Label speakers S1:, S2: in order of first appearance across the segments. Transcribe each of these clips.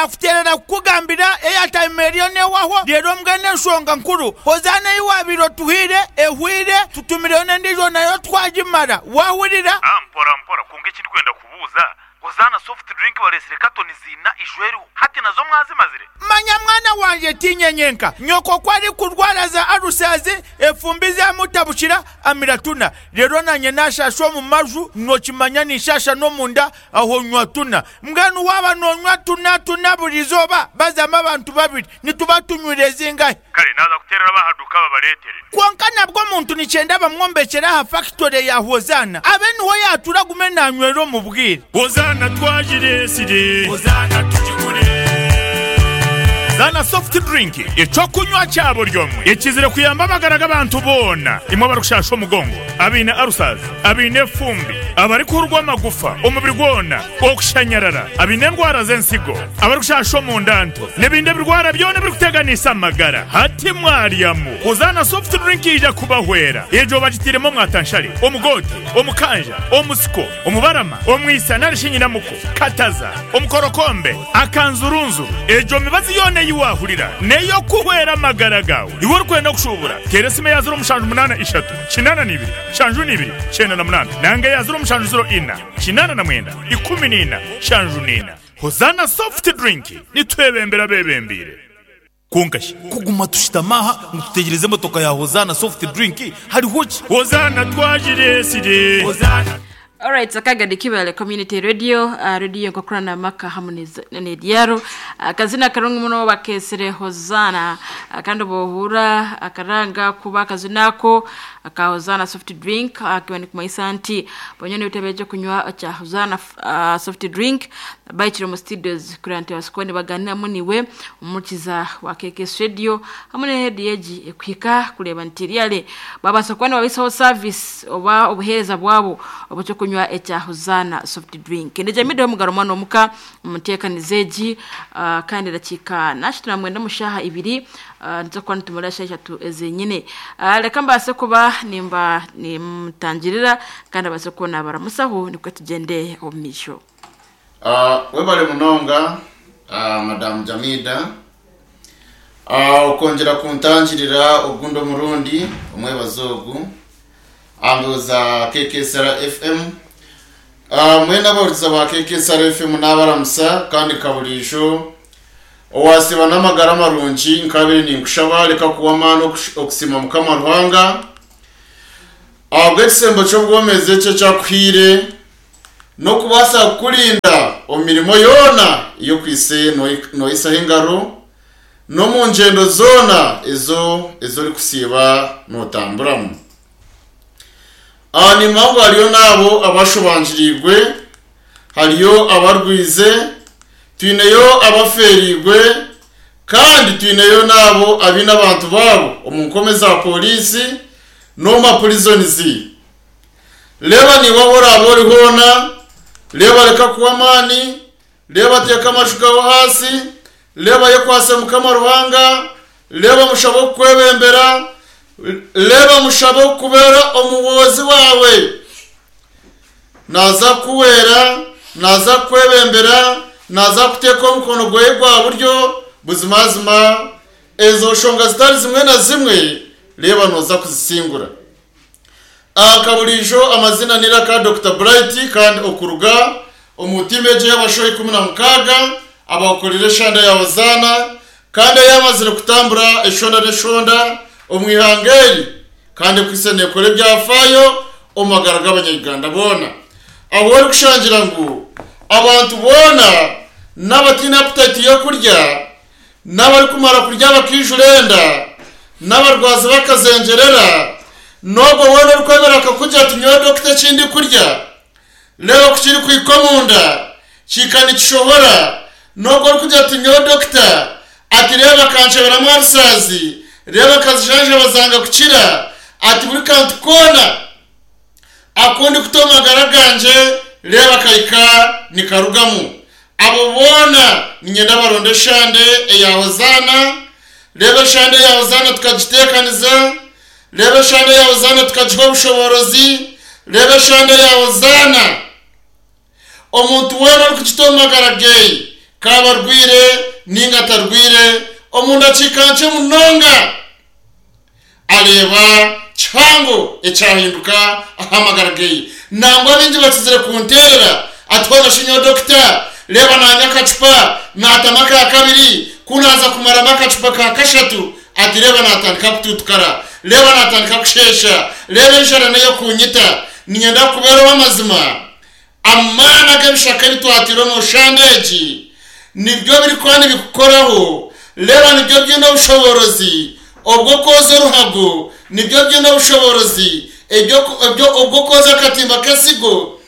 S1: Naakuteerera kukugambira airtime eriyo neehwaho, reero mbwenu enshonga nkuru, Hozaana ei waabaire otuhaire ehweire, tutumireyo n'endiijo nayo twagimara. Waahurira?
S2: Ah, mpora mpora, kwonka eki ndikwenda kubuuza, Hozaana soft drink bareetsire katoni ziina ijo eriho, hati nazo mwazimazire?
S1: Manya mwana wangye tiinye nyenka, nyoko ku arikurwara za alusazi, efumbi zamutabukira, amira tuna. Reero naanye naashaasha omu maju, nookimanya ninshaasha n'omunda, Aho nywa tuna. Mbwenu waaba noonywa tuna tuna buri izooba, bazamu abantu babiri, nituba tunywire zingahi?
S2: Kare naaza kuteerera ab'aha duuka babareetere.
S1: Kwonka nabwo omuntu nikyenda bamwombekyere aha fakitore ya Hozaana, abe niho yaatuura agume naanywera omu bwire.
S3: Hozaana twagireetsire.
S4: Hozaana tugigure.
S3: Zaana Soft Drink, eky'okunywa kya buri omwe ekizire kuyamba amagara g'abantu boona, imwe abarikushaasha omugongo, abaine ulcers, abaine efumbi, abarikuhurwa amagufa omubiri gwona, okushanyarara, abaine endwara z'ensigo, abarikushasha omunda nto, n'ebindi ebirwara byona ebirikuteganisa amagara. Hati mwaryamu Hozaana Soft Drink yaija kubahwera. Egyo bagitairemu omwatanshare, omugoote, omukanja, omusiko, omubarama, omwisa nari shi nyinamuko, kataza, omukorokombe, akanzurunzuru. Egyo mibazi yoona ei waahurira n'ey'okuhwera amagara gaawe. Iwe orikwenda kushuubura, teera esimu eya 0783 82 72 98 nanga eya 0704 89 14 74. Hozaana Soft Drink, nitwebembera abebembeire.
S4: Kwonka shi kuguma tushutami aha ngu tutegyereze emotoka ya Hozaana Soft Drink hariho ki?
S3: Hozaana twagireetsire.
S4: Hozaana.
S5: Alright, akagadi Kibale Community Radio, uh, radio enkokurana amaka hamu n'ebyaro. Akazina karungi muno bakesire Hosanna. Kandi bohura akaranga kuba akazina ako aka Hosanna soft drink akiba nikumanyisa nti bonyene ebitebe eby'okunywa kya Hosanna uh, soft drink baikire omu studios kureba nti babaasa nibaganiramu niwe omukiza wa KKS Radio hamwe n'erediyo egi ekuhika kureeba nti really babaasa kuba nibabaisaho service oba obuheereza bwabo obw'ekyokunywa ekya Hosanna soft drink. Ndejamiddeho omugaro mwana omuka omu nteekaniza egi uh, kandi edakiika nashatu na mwenda omu shaaha ibiri uh, nituza kuba nitumara eshaaha ishatu ezenyine. Uh, reka mbaase kuba nimba nimutangirira kandi abaase kuba nabaramusaho nikwo tugyende omu maisho.
S6: Webale munonga Madam Jamida okwongyera kuntangirira ogundi omurundi omwebazo ogu aha mbeho za KKSR FM. Mwena abahurikiza ba KKSR FM nabaramusa kandi nka buriijo owasiiba n'amagara marungi nkabaire ninkushaba reka kuwa amaani okusiima Mukama Ruhanga ahabw'ekisembo ky'obwomezi eki eki akuhaire. N'okubaasa kukurinda omu mirimo yoona ei okwaitse noihisaho engaro, n'omu ngyendo zoona ezo ezi orikusiiba nootamburamu. Aha niimanya ngu hariyo n'abo abashobangiriirwe, hariyo abarwize, twineyo abafeereirwe, kandi twineyo n'abo abaine abantu baabo omu nkome za poriisi n'omu mapurizonizi. Reeba naiwe ahu oraabe ori hoona, reeba reka kuhwa amaani, reeba teeka amaju gaawe ahansi, reeba yekwatse Mukama Ruhanga, reeba mushabe okukwebembera, reeba mushabe okukubeera omuhwezi waawe. Naaza kukuhwera, naaza kukwebembera, naaza kukuteeka omukono gwe gwa buryo, buzimazima ezo nshonga zitari zimwe na zimwe reeba nooza kuzisingura. Nka buriijo amazina n'eiraka Dokita Bright kandi okuruga omu tiimu egyo ey'abashaho 16 abakukorire eshanda ya Hozaana kandi eyamazire kutambura eshonda n'eshonda omu ihanga eri kandi ekwitse nekora ebyafaayo omu magara g'abanya-Uganda boona ahu orikushangira ngu abantu boona n'abataine appetite y'okurya n'abarikumara kurya bakaijura enda, n'abarwazi bakazengyerera, n'ogwo weena orikwemera akakugira ati, Nyowe dokita eki ndikurya, reeba ku kirikuhika omunda, kihika nikishohora, n'ogwo orikugira ati, Nyowe dokita, ati reeba akankyeberamu arisaazi, reeba nkazijanjaba zanga kukira, ati buri kantu koona aku ndikuta omu magara gangye, reeba kahika nikarugamu. Abo boona niinyenda baronde eshande eya Hozaana, reeba eshande eya Hozaana tukagiteekaniza, reeba eshande eya Hozaana tukagiha obushoboorozi, reeba eshande eya Hozaana. Omuntu weena orikugita omu magara ge. K'abe arwaire nainga atarwaire, omu ndakiika nkye munonga areeba kihango ekyahinduka aha magara geye. Nangwa baingi bakizire kunteerera ati hoona shi nyowe dokita, reeba naanywa akacupa naatamu aka kabiri, ku naaza kumaramu akacupa ka kashatu ati reeba naatandika kutuutukara, reeba naatandika kusheesha, reeba enjara n'ey'okunyita. Niinyenda kukubeera ow'amazima. Amaani ag'ebishaka ebi twataire omu shande egi nibyo birikuba nibikukoraho. Reeba nibyo biine obushoboorozi obw'okwoza oruhago, nibyo biine obushoboorozi obw'okwoza akatimba k'ensigo.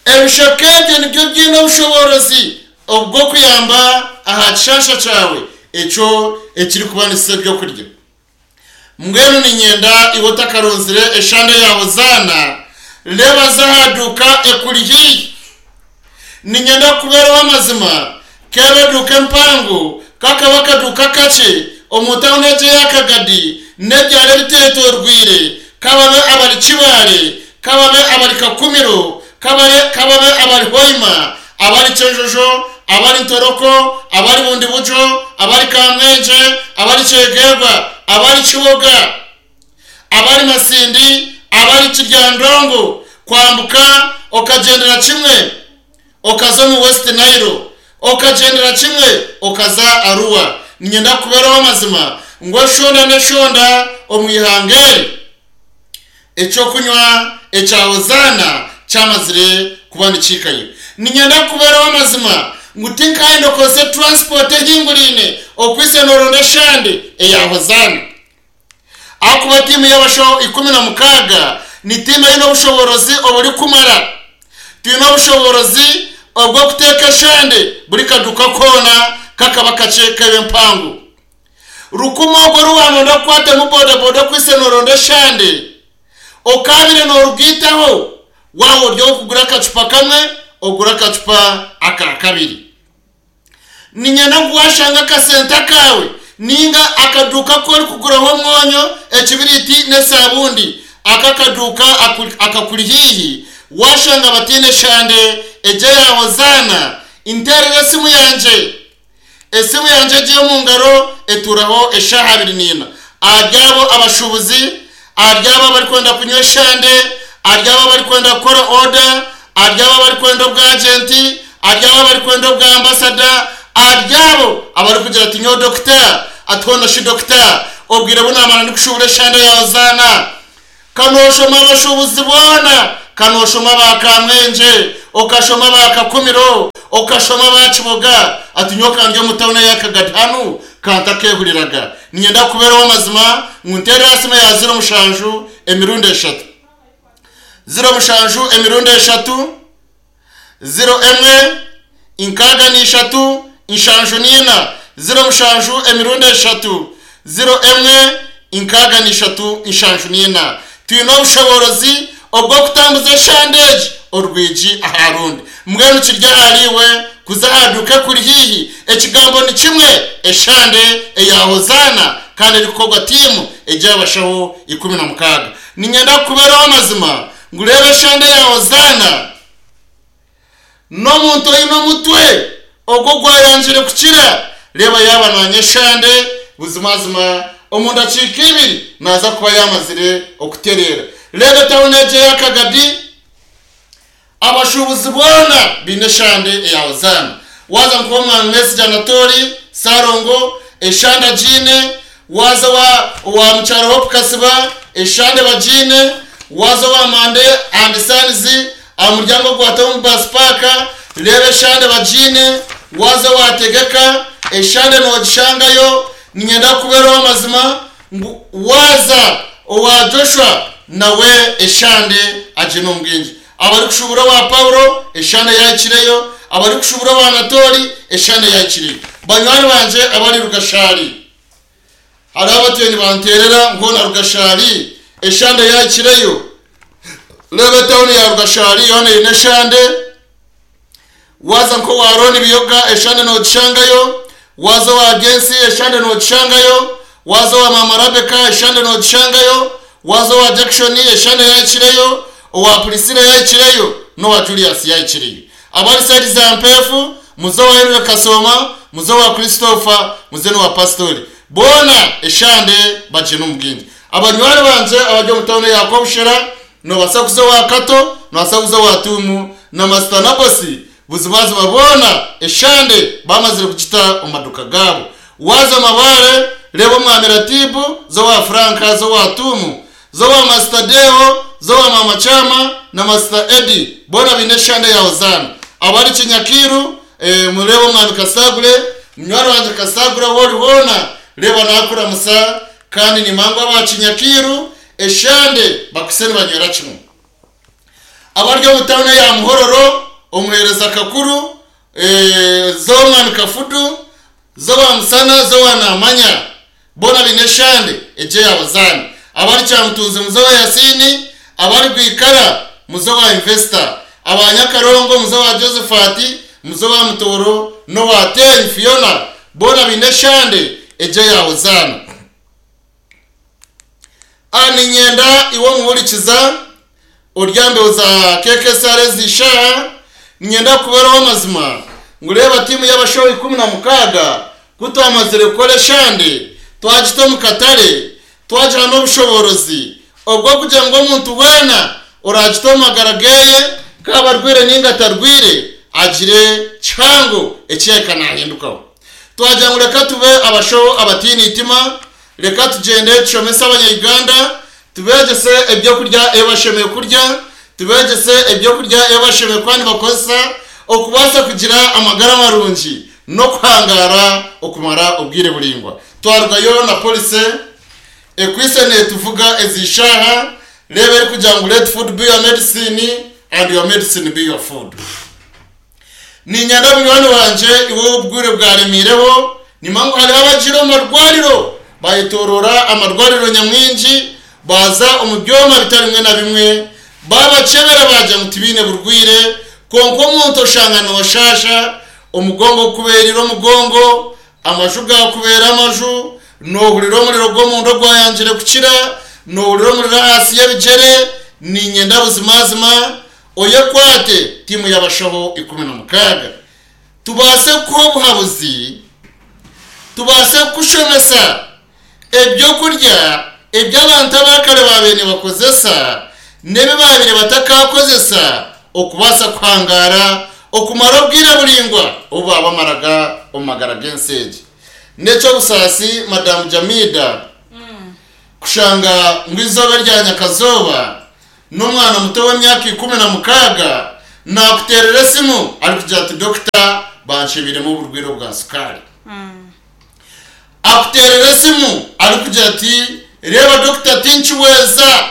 S6: Ebishaka ebyo nibyo biine obushoboorozi obw'okuyamba aha kishansha kyawe ekyo ekirikuba nikisa ebyokurya. Mbwenu niinyenda iwe otakaronzire eshande ya Hozaana, reeba za aha duuka ekuri haihi. Niinyenda kukubeera ow'amazima, k'ebe eduuka empango, k'akabe akaduuka kakye omu tauni egyo eya Kagadi n'ebyaro ebiteetoorweire, k'ababe abari Kibaale, k'ababe abari Kakumiro, k'ababe k'ababe abari Hoima, abari Kyenjojo, abari Ntoroko, abari Bundibugyo, abari Kamwengye, abari Kyegegwa, abari Kiboga, abari Masindi, abari Kiryandongo, kwambuka okagyendera kimwe okaza omu West Nile, okagyendera kimwe okaza Arua. Niinyenda kukubeera ow'amazima ngu eshonda n'eshonda omu ihanga eri. Eky'okunywa ekya Hozaana kyamazire kuba nikihikayo. Niinyenda kukubeera ow'amazima ngu tinkayenda okozese transport ehinguraine okwitsya nooronda eshande eya Hozaana. Ahakuba tiimu y'abashaho 16 ni tiimu eine obushoboorozi oburikumara. Twine obushoboorozi obw'okuteeka eshande buri kaduuka koona kakaba kakye kebe empango. Rukumu ogwo oru waanonda kukwatamu bodaboda okwitse nooronda eshande, okaabire noorugaitaho, waaba ori ow'okugura akacupa kamwe, ogure akacupa aka kabiri. Niinyenda ngu waashanga akasente akaawe nainga akaduuka aku orikuguraho omwonyo, ekibiriiti n'esaabundi, ako akaduuka akakuri haihi, waashanga bataine eshande egyo eya Hozaana, nteerera esimu yangye. Esimu yangye egi ey'omu ngaro etuuraho eshaaha abiri n'ina. Ahari abo abashuubuzi, ahari abo abarikwenda kunywa eshande, ahari abo abarikwenda kukora oda, ahari abo abarikwenda obwajenti, ahari abo abarikwenda obwa ambasada, ahari abo abarikugira ati nyowe dokita, ati hoona shi dokita, obwire bu naamara ndikushuubura eshande ya Hozaana. Ka nooshoma abashuubuzi boona, ka nooshoma aba Kamwengye, okashoma aba Kakumiro, okashoma aba Kiboga, ati nyowe ka ndi omu tauni eya Kagadi hanu, ka ntakeehuriraga. Niinyenda kukubeera ow'amazima ngu nteere aha simu ya ziro mushanju emirundi eshatu. Ziro mushanju emirundi eshatu. Ziro emwe, inkaaga n'ishatu, nshanju n'ina, ziro mushanju emirundi eshatu, ziro emwe, inkaaga n'ishatu, nshanju n'ina. Twine obushoboorozi obw'okutambuza eshande egi orwigi aha rundi. Mbwenu kiri ahariiwe kuza aha duuka ekuri haihi. Ekigambo ni kimwe, eshande eya Hozaana kandi erikukorwa tiimu egy'abashaho 16. Niinyenda kukubeera ow'amazima ngu reeba eshande ya Hozaana. N'omuntu oine omutwe ogwo ogwayangire kukira, reeba yaaba naanywa eshande, buzimazima omu ndakiika ibiri naaza kuba yaamazire okutereera. Reeba etauni egyo eya Kagadi, abashuubuzi boona baine eshande eya Hozaana. Waaza nk'owa Mwesigye Anatoli, Ssalongo, eshande agiine, Waaza owa owa Mukyara Hope Kasiba, eshande bagiine, waaza owa Mande and Sons aha muryango gwa Town Bus Park, reeba eshande bagiine, waaza owa Tegeka, eshande noogishangayo, niinyenda kukubeera ow'amazima ngu waaza owa Joshua nawe eshande agiine omu bwingi. Abarikushuubura owa Paulo, eshande yaahikireyo, abarikushuubura owa Anatooli, eshande yaahikireyo. Banywani bangye abari Rugashari. Hariho abatwire nibanteerera ngu hoona Rugashari eshande yaahikireyo. Reeba etauni ya Rugashari yoona eine eshande. Waaza nk'owa Ron Biyoga eshande noogishangayo. Waaza owa Gensi eshande noogishangayo. Waaza owa Maama Rabeka eshande noogishangayo. Waaza owa Jackson eshande yaahikireyo. Owa Priscilla yaahikireyo n'owa Julius yaahikireyo. Abari sayidi za Mpeefu. Muze owa Henry Kasooma, muze owa Christopher, muze n'owa Pasitori. Boona eshande bagyenda omu bwingi. Abanywani bangye abari omu tauni eya Kobushera, noobaasa kuza owa Kato, noobaasa kuza owa Tuumu na Masita Nabosi, buzimazima boona eshande baamazire kugita omu maduuka gaabo. Waaza Mabaare, reeba Omwami Ratibu, za owa Frank, za owa Tuumu, za owa Masita Deo, za owa Maama Kyama na Masita Eddy, boona baine eshande ya Hozaana. Abari Kinyakiiru, mureebe Omwami Kasagure, munywani wangye Kasagure ahu ori hoona, reeba naakuramusa, kandi nimanya ngu aba Kinyakiiru eshande bakwaitse nibanywera kimwe. Abari omu tauni eya Muhororo, omuheereza Kakuru, Z'omwami Kafudu, z'owa Musana, z'owa Naamanya, boona baine eshande egyo eya Buzaana. Abari Kyamutunzi muze owa Yasiini, abari Rwikara muze owa Investor, aba Nyakarongo muze owa Josephat, muze owa Mutooro n'owa Teenyi Fiona, boona baine eshande egyo eya Buzaana. A Niinyenda iwe omuhurikiza ori aha mbeho za KKSR ezi ishaaha, niinyenda kukubera ow'amazima ngu reeba tiimu y'abashaho 16 ku twamazire kukora eshande twagita omu katare twagiha n'obushoboorozi obw'okugira ngu omuntu weena oraagite omu magara geeye kaaba arwaire nainga atarwaire agire kihango eki yahika naahindukaho. Twagira ngu reka tube abashaho abataine eitima, Reka tugyende tushomese abanya-Uganda, tubeegyese ebyokurya ebi bashemereire kurya, tubeegyese ebyokurya ebi bashemereire kuba nibakozesa okubaasa kugira amagara marungi n'okuhangaara okumara obwire buraingwa. Twarugayo na policy ekwaitse neetuvuga ezi shaaha, reeba erikugira ngu let food be your medicine and your medicine be your food. Niinyenda munywani wangye iwe ou obugwire bwaremeireho, nimanya ngu hariho abagiire omu marwariro bayetoroora amarwariro nyamwingi, baaza omu byoma bitari bimwe na bimwe, baabakyebera baagira ngu tibaine burwaire, kwonka omuntu oshanga nooshaasha, omugongo gukubeereire omugongo, amaju gaakubeera amaju, noohurira omuriro gw'omunda ogwayangire kukira, noohurira omuriro ahansi y'ebigyere, niinyenda buzimazima Oyekwate tiimu y'abashaho 16 tubaase kukuha obuhabuzi, tubaase kukushomesa eby'okurya ebi abantu aba kare baabaire nibakozesa n'ebi baabaire batakakozesa okubaasa kuhangaara okumara obwire buraingwa obu baabamaraga omu magara g'ensi egi. N'eky'obusaasi Madamu Jamida kushanga ngu eizooba erya nyakazooba N'omwana muto w'emyaka 16 naakuteerera esimu arikugira ati, Dokita, banshebeiremu oburwaire obwa sukaari. Akuteerera esimu arikugira ati, Reeba dokita, tinkihweza.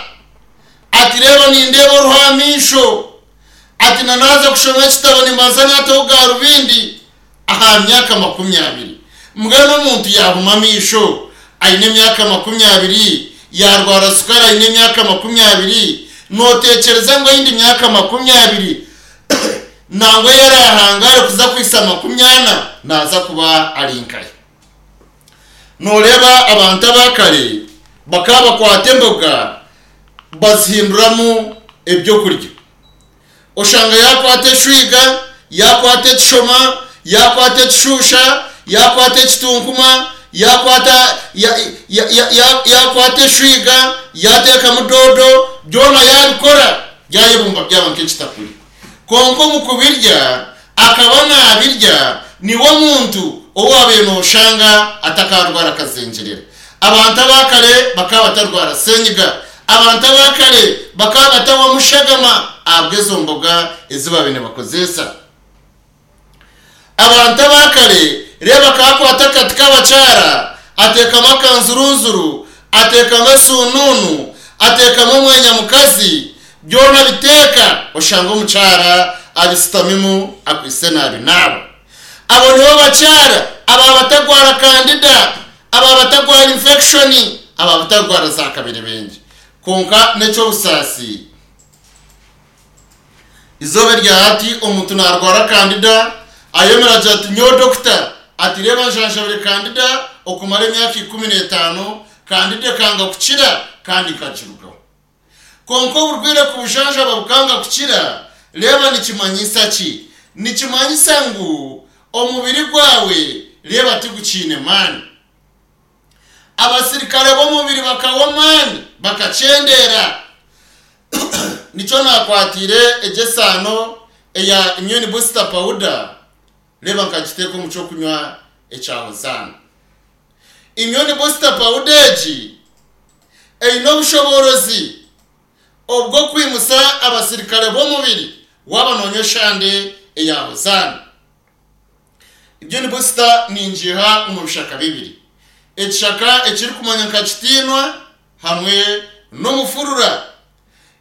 S6: Ati, Reeba nindeeba oruho aha maisho. Ati, Na naaza kushoma ekitabo nimbanza naataho garubindi. Aha myaka 20, mbwenu omuntu yaahuma amaisho aine emyaka 20, yaarwara sukaari aine emyaka 20, nooteekyereza ngu eyindi myaka 20 nangwa ei araahangaare kuza kuhitsya 40 naaza kuba ari nkahi? Nooreeba abantu aba kare bakaba bakwata emboga bazihinduramu eby'okurya. Oshanga yaakwata eshwiga, yaakwata ekishoma, yaakwata ekishusha, yaakwata ekitunkuma, yaakwata ya, ya, ya, ya, yaakwata eshwiga, yaateekamu doodo, byona yaabikora, yaayebumba byaba nk'ekitakuri. Kwonka omu kubirya, akaba naabirya niwe muntu ou waabaire nooshanga atakaarwara akazengyerera. Abantu aba kare bakaba batarwara senyiga. Abantu aba kare bakaba batahwamu shagama ahabw'ezo mboga ezi baabaire nibakozeesa. Abantu aba kare reeba akaba akwata akati k'abakyara ateekamu akanzurunzuru, ateekamu esuunuunu, ateekamu omwenya mukazi, byona abiteeka oshanga omukyara abisitamimu akwaitse naabinaaba. Abo nibo bakyara aba batagwara kandida, aba batagwara infekishoni, aba batagwara za kabirebengi. Kwonka n'eky'obusaasi, izooba erya hati omuntu naarwara kandida, ayemera agira ati, Nyowe dokita, ati reeba njanjabire kandida okumara emyaka 15, kandida ekanga kukira kandi nkagirugaho. Kwonka oburwaire ku bujanjaba bukanga kukira, reeba nikimanyisa ki? Nikimanyisa ngu. Omubiri gwawe reeba tigukiine maani. Abasirikare b'omubiri bakahwa amaani bakakyendeera. Nikyo naakwatiire egyo esaano eya Immune Booster Powder reeba nkagiteeka omu ky'okunywa ekya Hozaana. Immune Booster Powder egi eine obushoboorozi obw'okwimusa abasirikare b'omubiri waaba noonywa eshande eya Hozaana. Immune Booster ningiiha omu bishaka bibiri, ekishaka ekirikumanywa nka Kitiinwa hamwe n'omufurura.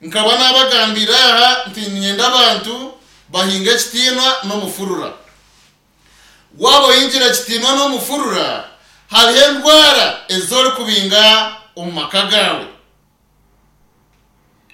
S6: Nkaba naabagambiire aha nti niinyenda abantu bahinge ekitiinwa n'omufurura. Waaba ohingire ekitiinwa n'omufurura, hariho endwara ezi orikubinga omu maka gaawe.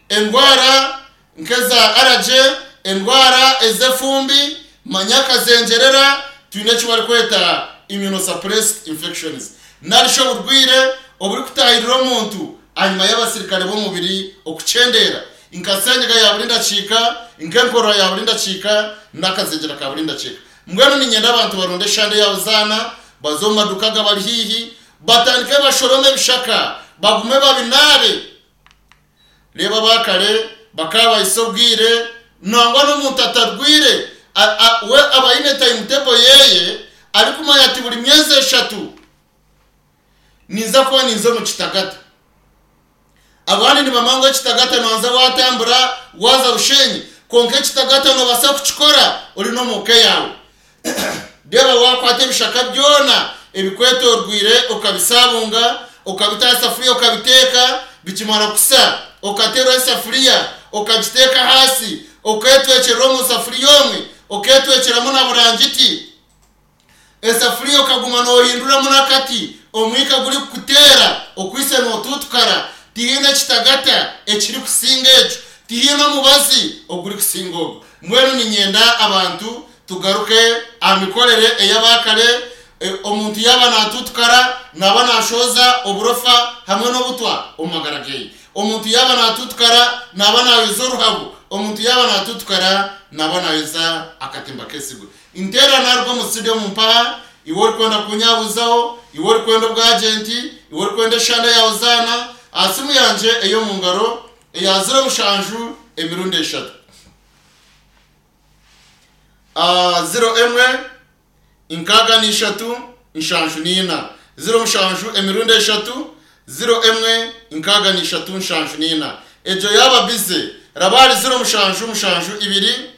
S6: Endwara nk'eza aragye, endwara ez'efumbi, manya akazengyerera, twine eki barikweta immunosuppressed infections nari shi oburwaire oburikutaahirira omuntu ahanyima y'abasirikare b'omubiri okukyendeera, nka senyiga ya buri ndakiika, nk'enkorora ya buri ndakiika, n'akazengyera ka buri ndakiika. Mbwenu niinyenda abantu baronde eshande ya Hozaana, baze omu maduuka agabari haihi, batandike bashorome ebishaka, bagume babinaabe. Reeba aba kare bakaba bahitsya obwire nangwa n'omuntu atarwaire we aba aine timetable yeye arikumanya ati buri myezi eshatu ninza kuba ninza omu kitagata. Abandi nibamanya ngu ekitagata nobanza watambura waza Bushenyi kwonka ekitagata nobasa kukikora ori n'omu ka yaawe. Reeba waakwata ebishaka byona ebikwetorweire okabisaabunga, okabita aha safuriya okabiteeka, bikimara kusa okateeraho esafuriya okagiteeka ahaasi, oketwekyerera omu safuriya omwe, oketwekyeramu na burangiti. Esafuriya okaguma noohinduramu n'akati, omwika gurikukuteera okwitse nootuutukara. Tihaine ekitagata ekirikusinga ekyo. Tihaine omubazi ogurikusinga ogwo. Mbwenu niinyenda abantu tugaruke aha mikorere ey'abaakare, omuntu yaaba naatuutukara naaba naashohoza oburofa hamwe n'obutwa omu magara ge. Omuntu yaaba naatuutukara naaba naayoza oruhago. Omuntu yaaba naatuutukara naaba naayoza akatimba k'esigo. Nteera naruga omu studio omu mpaha, iwe orikwenda kunyabuzaho, iwe orikwenda obwagenti, iwe orikwenda eshande ya Hozaana, aha simu yangye ey'omu ngaro eya ziro mushanju emirundi eshatu. Ziro emwe, nkaaga n'ishatu, nshanju n'ina. Ziro mushanju emirundi eshatu, ziro emwe, nkaaga n'ishatu, nshanju n'ina. Egyo yaaba bize, raba ahari ziro mushanju mushanju ibiri,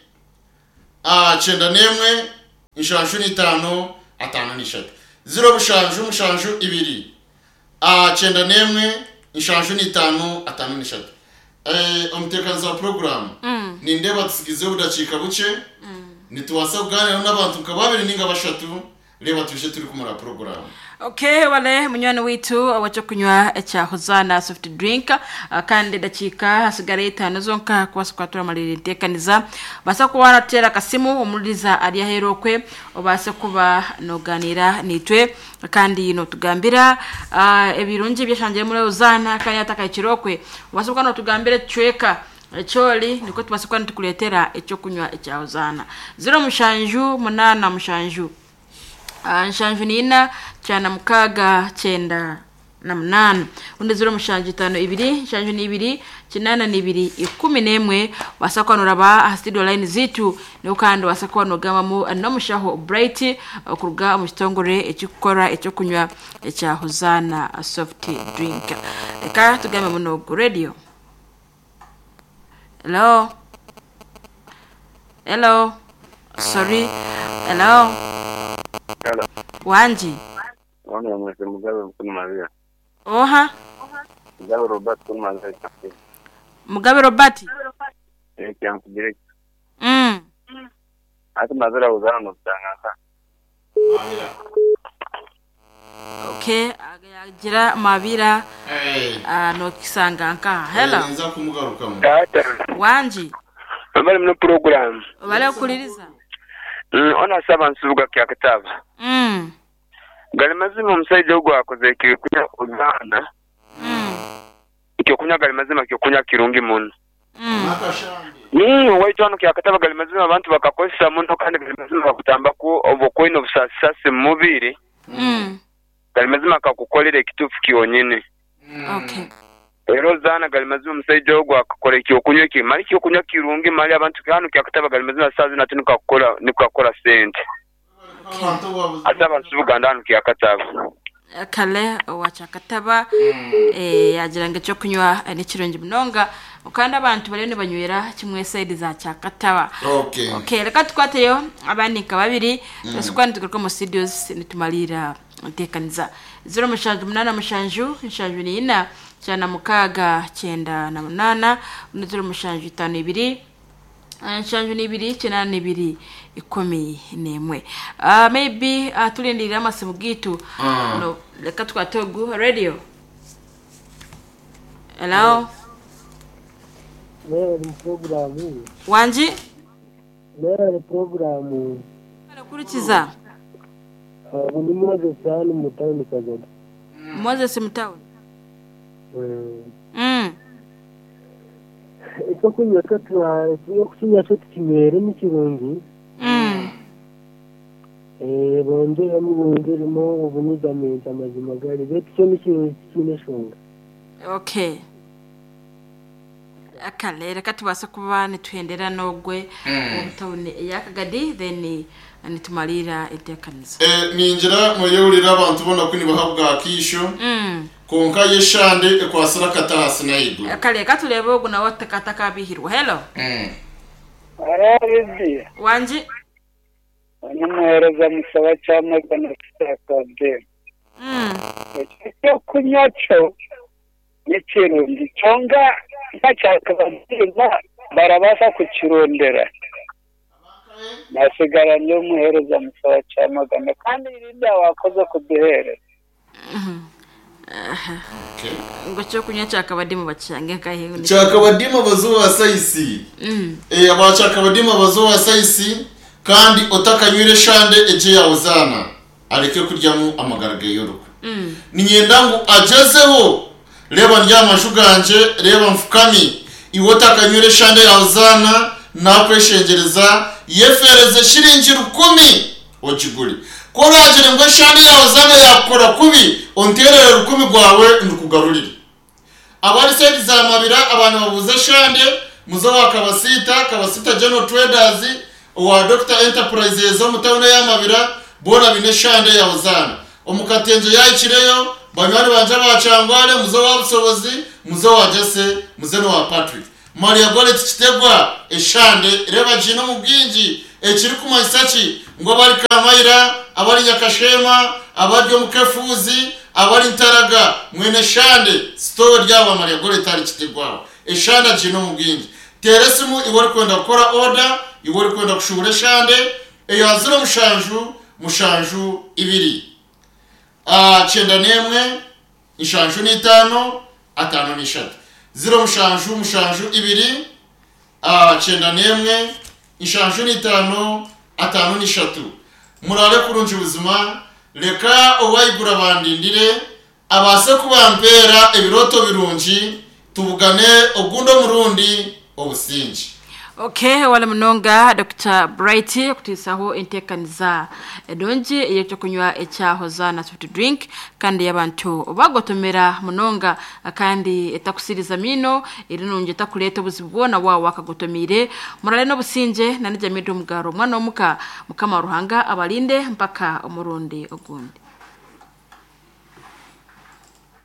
S6: kyenda n'emwe, nshanju n'itaano, ataano n'ishatu. Ziro mushanju mushanju ibiri, kyenda n'emwe, nshanju n'itaano, ataano n'ishatu. Omuteekanizi wa puroguraamu, nindeeba tutsigizeho obudakiika bukye, nitubaasa kugaaniiraho n'abantu nka babiri nainga bashatu Reeba twije turikumara puroguraamu.
S5: Okay, wale munywani waitu ow'ekyokunywa ekya Hozaana soft drink kandi edakiika hasigara itaano zonka kubaasa kuba turamalirira enteekaniza. Baasa kuba warateera akasimu omuririza ari aheeru okwe obaase kuba noganiira naitwe kandi notugambira ebirungi ebyashangire muri Hozaana kandi atakahikire okwe obaase kuba notugambira ekicweka Ekyori nikwo tubaasa kuba nitukureetera eky'okunywa ekya Hozaana. 07 munaana mushanju nshanju na ina kyana mukaaga kyenda na munaana. Obundi 07 itaano ibiri nshanju na ibiri kinaana na ibiri ikumi n'emwe. Obaasa kuba nooraba aha studio line zaitu niho kandi obaasa kuba noogambamu n'omushaho Bright okuruga omu kitongore ekirikukora eky'okunywa ekya Hozaana soft drink. Reka tugambemu n'ogu radio. Hello? Hello? Sorry. Hello?
S7: Hello.
S5: Wangi.
S7: Ono mwese Mugabe Mukulu Maria.
S5: Oha?
S7: Mugabe Robert Mukulu Maria Kyankugire.
S5: Mugabe Robert?
S7: Eh, Kyankugire. Ati mazira uzana nokutangaza.
S5: Okay, agira mabira nokisanga nkaha. Hello.
S6: Ninza kumugarukamu.
S7: Tata.
S5: Wangi.
S7: Bali muno program.
S5: Obale okuliriza.
S7: Ono asaba nsubuga kya kitaba. Gali mazima omusaija ogu akoze ekyokunywa ozaana. Ekyokunywa gali mazima kyokunywa kirungi muno. Waitu hanu kyakataba gali mazima abantu bakakozesa muno kandi gali mazima bakutambaku obwo kwine. oine obusasisasi mu mubiri, gali mazima akakukolera ekituufu kyonyini.
S5: Okay.
S7: Era ozaana gali mazima omusaija ogwo akakora ekyokunywa eki mali ekyokunywa kirungi mali abantu hanu kyakataba gali mazima saaha zinu ati nikakukora nikakora sente. Ate abantu Buganda hanu kyakataba.
S5: Kale owa Kyakataba yaagira ngu ekyokunywa nikirungi munonga kandi abantu bariyo nibanywera kimwe sayidi za Kyakataba.
S6: Okay.
S5: Okay, reka tukwateyo abandi nka babiri tubaase nitugaruka omu studios nitumariira enteekaniza. 078 74 96 98 0752 72 82 11. Maybe turindiire amasimu gaitu. No, reka tukwate ogu radio. Hello.
S8: Mwebale puroguramu.
S5: Wangi?
S8: Mwebale puroguramu.
S5: Kurikiza.
S8: Ogu ni Moses hanu mu tawuni Kagadi.
S5: Moses mu tawuni.
S8: Ekyokunywa kyo ekyokunywa kyo tukinywere ni kirungi. Bongyeremu bongyeremu obunyigamenti amazima gari beitu kyo ni kirungi tikiine enshonga.
S5: Okay. Kale reka tubaase kuba nituhendera n'ogwe omu tawuni eya Kagadi then nitumariira enteekaniza.
S6: Ningira mweyehurira abantu boona ku nibaha bwakaisho kwonka yo eshande ekwatsire akati ahansi n'ahaiguru.
S5: Kale reka tureebe ogu nawe atakabihirwa. Hello.
S9: Hariho Lydia.
S5: Wangi.
S9: Onu muheereza Musaba Kyamagana Sitakabe. Ekyo ekyokunywa kyo ni kirungi kyonka nka kyakabaziima barabaasa kukirondera. Nasigara ndi omuheereza Musaba Kyamagana kandi Lydia wakoze kuduheereza.
S5: Ngu ekyokunywa kyakabadimu bakishange nkahi?
S6: Kyakabadimu abaza owa saisi. Aba kyakabadimu abaza owa saisi kandi otakanywire eshande egyo eya Hozaana areke kuryamu amagara ge y'orukwe. Niinyenda ngu agyezeho, reeba ndi aha maju gangye, reeba nfukami, iwe otakanywire eshande ya Hozaana, naakweshengyereza, yefeereze shiringi rukumi ogigure. Ku oraagire ngu eshande ya Hozaana yaakukora kubi, onteerere rukumi gwawe ndukugarurire. Abari sayidi za Mabira aba nibabuuza eshande, muze owa Kabasiita, Kabasiita General Traders, owa Dokita Enterprises omu tawuni eya Mabira, boona baine eshande ya Hozaana. Omu Katengye yaahikireyo, banywani bangye aba Kyangwale, muze owa Busobozi, muze owa Jesse, muze n'owa Patrick. Maria Goreti Kitegwa, Eshande reeba giine omu bwingi, ekirikumanyisa ki ngu abari Kamayira, abari Nyakasheema, abari omu Kefuuzi, abari Ntaraga, mwine eshande, sitoowa eri aha Maria Goreti ahari Kitegwa aho. Eshande agiine omu bwingi. Teera esimu iwe orikwenda kukora oda, iwe orikwenda kushuubura eshande, eya 07 72 91 75 53. 07 72 91 75 53. Muraare kurungi buzima, reka Owaiguru abandindire, abaase kubampeera ebirooto birungi, tubugane ogundi omurundi. Obusingye.
S5: Ok wale munonga Dokita Bright okutuhisaho entekaniza enungi ey'ekyokunywa ekya Hosanna Soft Drink kandi ey'abantu bagotomera munonga kandi etakusiriza miino eri nungi etakureeta obuzibu bwona waaba wakagotomiire. Murare n'obusingye na Nijamida Omugaro omwana w'omuka Mukama Ruhanga abarinde mpaka omurundi ogundi.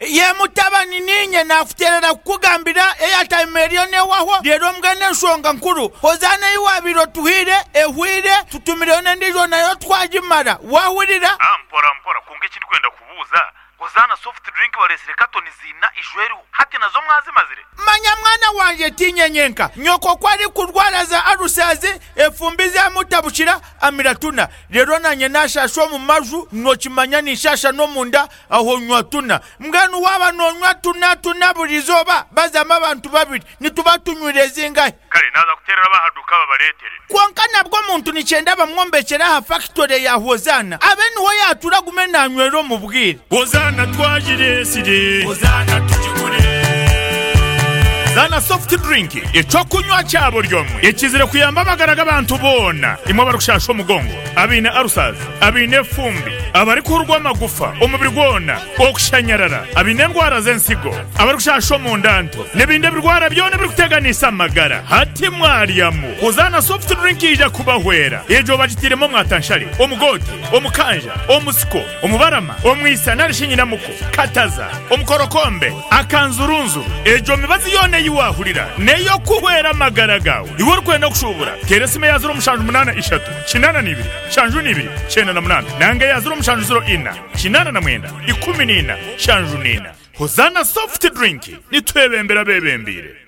S1: Ye mutabani, niinye naakuteerera kukugambira eyataima eriyo neehwaho, reero mbwenu enshonga nkuru, Hozaana ei waabaire otuhaire ehweire, tutumireyo n'endiijo nayo twagimara. Waahurira?
S2: Ah, mpora mpora, kwonka eki ndikwenda kubuuza, Hozaana soft drink bareetsire katoni ziina iju eriho, hati nazo mwazimazire?
S1: Manya mwana wangye, tiinye nyenka. Nyoko ku arikurwara za alusazi, efumbi zaamutabukira, amira tuna. Reero naanye naashaasha omu maju, nookimanya ninshaasha n'omunda, Aho nywa tuna. Mbwenu waaba noonywa tuna tuna buri izooba, bazamu abantu babiri, nituba tunywire zingahi?
S3: Kare naaza kuteerera ab'aha duuka babareetere.
S1: Kwonka nabwo omuntu nikyenda bamwombekyere aha fakitore ya Hozaana, abe niho yaatuura agume naanywera omu bwire.
S3: Hozaana twagireetsire. Hozaana tugigure. Zana soft drink eky'okunywa kya buri omwe ekizire kuyamba amagara g'abantu boona. Imwe abarikushasha omugongo, abaine ulcers, abaine efumbi, abarikuhurwa amagufa omubiri gwona, okushanyarara, abaine endwara z'ensigo, abarikushasha omunda nto, n'ebindi ebirwara byona ebirikuteganisa amagara. Hati mwaryamu. Hozana soft drink eija kubahwera. Egyo bagitairemu omwatanshare, omugoote, omukanja, omusiko, omubarama, omwisa nari shi nyinamuko, kataza, omukorokombe, akanzurunzuru. Egyo mibazi yoona ei waahurira n'ey'okuhwera amagara gaawe. Iwe orikwenda kushuubura, teera esimu eya 0783 82 72 98 nanga eya 0704 89 14 74. Hozana soft drink, nitwebembera abebembeire.